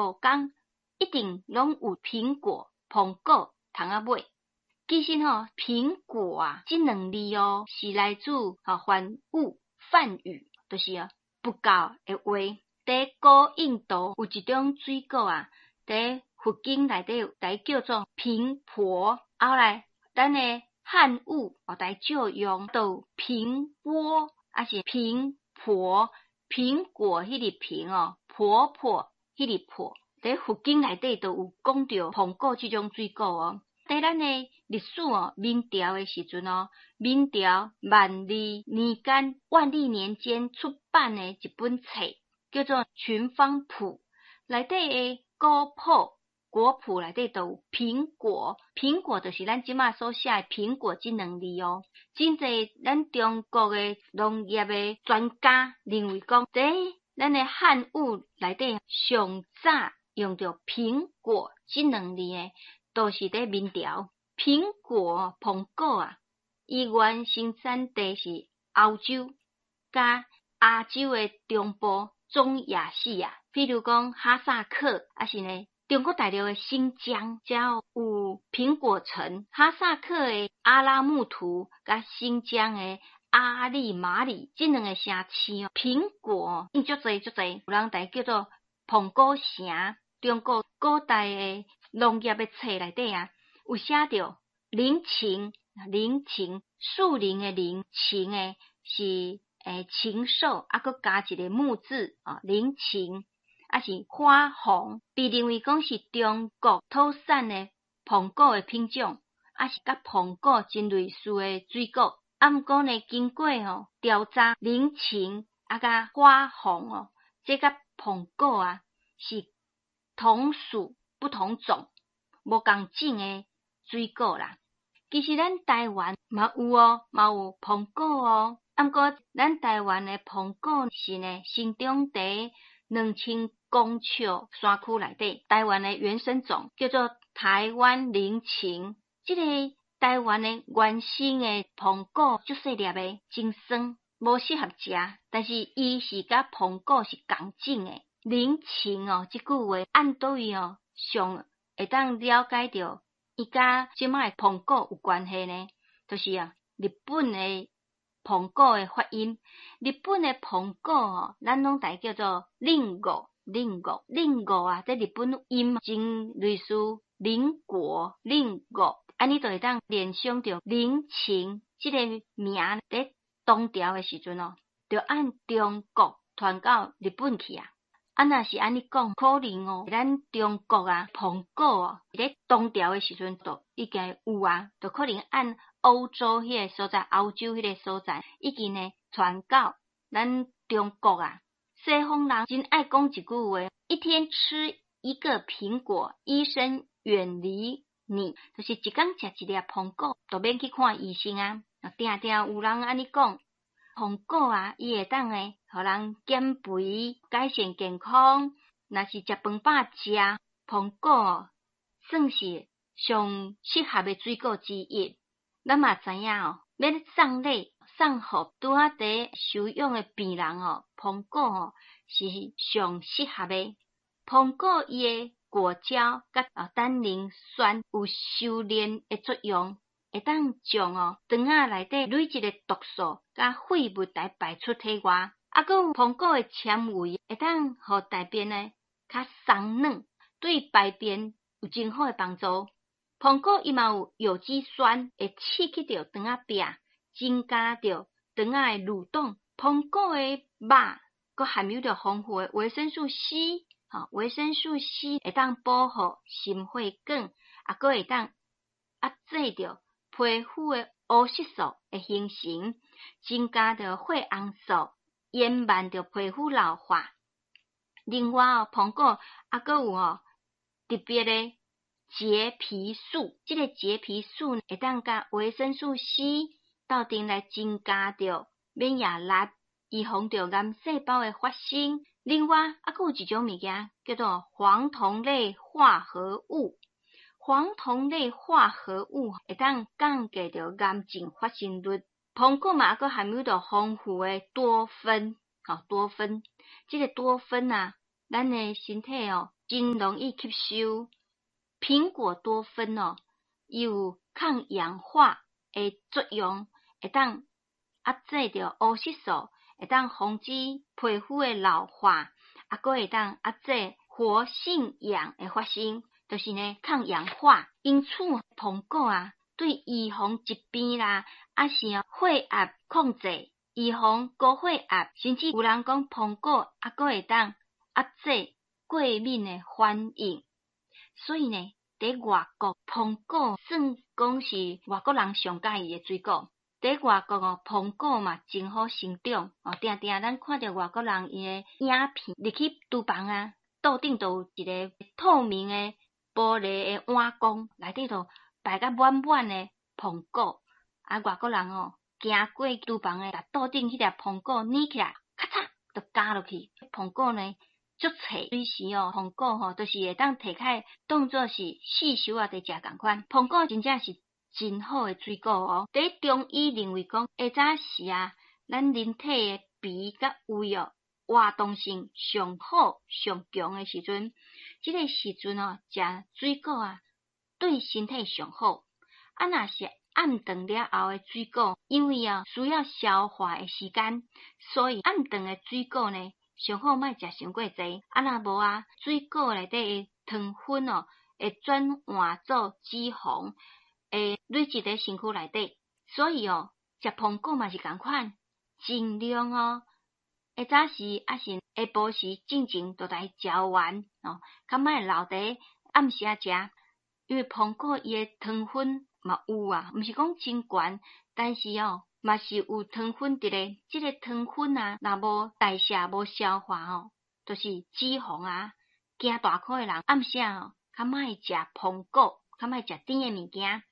工一定攏有蘋果、蘋果通仔買。其實吼，蘋果啊，這兩字哦，是來自吼梵語、梵語，就是啊佛教的話。佇古印度有一種水果啊，佇佛經內底來叫做蘋婆。後來咱的漢語哦，來借用到蘋果，抑是蘋婆，蘋果彼个蘋哦，婆婆彼个婆。佇佛經內底就有講著蘋果這種水果哦。佇咱的歷史哦，明朝的時陣哦，明朝萬曆年間，萬曆年間出版的一本冊，叫做《群芳譜》，內底的果譜，果譜內底就有蘋果，蘋果就是咱這馬所寫的蘋果這兩字哦。真濟咱中國的農業的專家認為講，佇咱的漢語內底上早用著蘋果這兩字的，都是佇明朝。蘋果蘋果啊，伊原生產地是歐洲佮亞洲的中部中亞細亞，比如講哈薩克，抑是呢中國大陸的新疆，才有蘋果城。哈薩克的阿拉木圖佮新疆的阿力馬里這兩个城市哦，蘋果伊足濟足濟，有人共伊叫做蘋果城。中國古代的農業的冊內底啊，有寫著林禽，林禽，樹林的林，禽的是禽獸，啊，閣加一个木字啊，林禽，抑是花紅，被認為講是中國土產的蘋果的品種，抑是佮蘋果真類似的水果。啊，毋過呢，經過吼調查，林禽啊佮花紅哦，這佮蘋果啊是同屬不同種，無仝種的水果啦。其實咱台灣嘛有哦，嘛有蘋果哦。啊，毋過咱台灣的蘋果是呢，生長佇2000公尺山區內底。台灣的原生種叫做台灣林禽。這個台灣的原生的蘋果足細粒的，真酸，無適合食。但是伊是佮蘋果是仝種的。林禽哦，這句話按佗位哦，上會當了解著伊佮這擺的蘋果有關係呢？就是啊，日本的蘋果的發音，日本的蘋果哦，咱攏共伊叫做リンゴ，リンゴ，リンゴ啊，這日本音真類似鄰國，鄰國，按呢就會當聯想著林禽這个名佇唐朝的時陣哦，就按中國傳到日本去啊。啊，若是按呢講，可能哦，咱中國啊，蘋果哦，佇唐朝的時陣就已經有啊，就可能按歐洲彼个所在，歐洲彼个所在，已經呢傳到咱中國啊。西方人真愛講一句話：一天吃一個蘋果，醫生遠離你。就是一工食一粒蘋果，就免去看醫生啊。定定有人按呢講。蘋果啊，伊會當呢，予人減肥、改善健康。若是食飯飽食蘋果，算是上適合的水果之一。咱嘛知影哦，欲送禮送予拄仔佇休養的病人哦，蘋果哦是上適合的。蘋果伊的果膠佮單寧酸有收斂的作用。會當將哦腸仔內底累積的毒素佮廢物來排出體外，啊，閣有蘋果的纖維會當予大便呢較鬆軟，對排便有真好的幫助。蘋果伊嘛有有機酸，會刺激著腸仔壁，增加著腸仔的蠕動。蘋果的肉閣含有著豐富的維生素 C，吼，維生素 C 會當保護心血管，啊，閣會當壓制著皮膚的烏色素的形成，增加著血紅素，延慢著皮膚老化。另外哦，蘋果猶閣有哦特別的櫛皮素，這個櫛皮素會當佮維生素 C 鬥陣來增加著免疫力，預防著癌細胞的發生。另外，猶閣有一種物件叫做黃酮類化合物。黃酮類化合物會當降低著癌症發生率。蘋果嘛，猶閣含有著豐富的多酚，吼多酚，這個多酚啊，咱的身體哦真容易吸收。蘋果多酚哦，伊有抗氧化的作用，會當壓制著烏色素，會當防止皮膚的老化，啊，閣會當壓制活性氧的發生，就是呢抗氧化。因此，蘋果啊，對預防疾病啦，抑是血壓控制、預防高血壓，甚至有人講蘋果啊，閣會當壓制過敏的反應。所以呢，佇外國蘋果算講是外國人上佮意的水果。佇外國哦，蘋果嘛真好生長哦，定定咱看著外國人伊的影片入去廚房啊，桌頂都有一个透明的玻璃的碗公，內底都擺甲滿滿的蘋果。啊，外國人哦，行過廚房的，共桌頂彼粒蘋果捏起來，咔嚓就咬落去。蘋果呢，足脆，隨時哦，蘋果吼，就是會當提開當做是四熟仔佇食仝款。蘋果真正是真好的水果哦。佇中醫認為講，下早時啊，咱人體的脾佮胃哦，活動性上好、上強的時陣，這个時陣哦，食水果啊，對身體上好。啊，若是暗頓了後的水果，因為啊需要消化的時間，所以暗頓的水果呢，上好莫食傷過濟。啊，若無啊，水果內底的糖分哦，會轉換做脂肪，會累積佇身軀內底。所以哦，食蘋果嘛是仝款，盡量哦，下早時抑是下晡時進前就來食完哦，較莫留佇暗時仔食，因為蘋果伊的糖分嘛有啊，毋是講真懸，但是哦，嘛是有糖分佇咧。這个糖分啊，若無代謝、無消化吼，就是脂肪啊。驚大箍的人暗時仔吼，較莫食蘋果，較莫食甜的物件。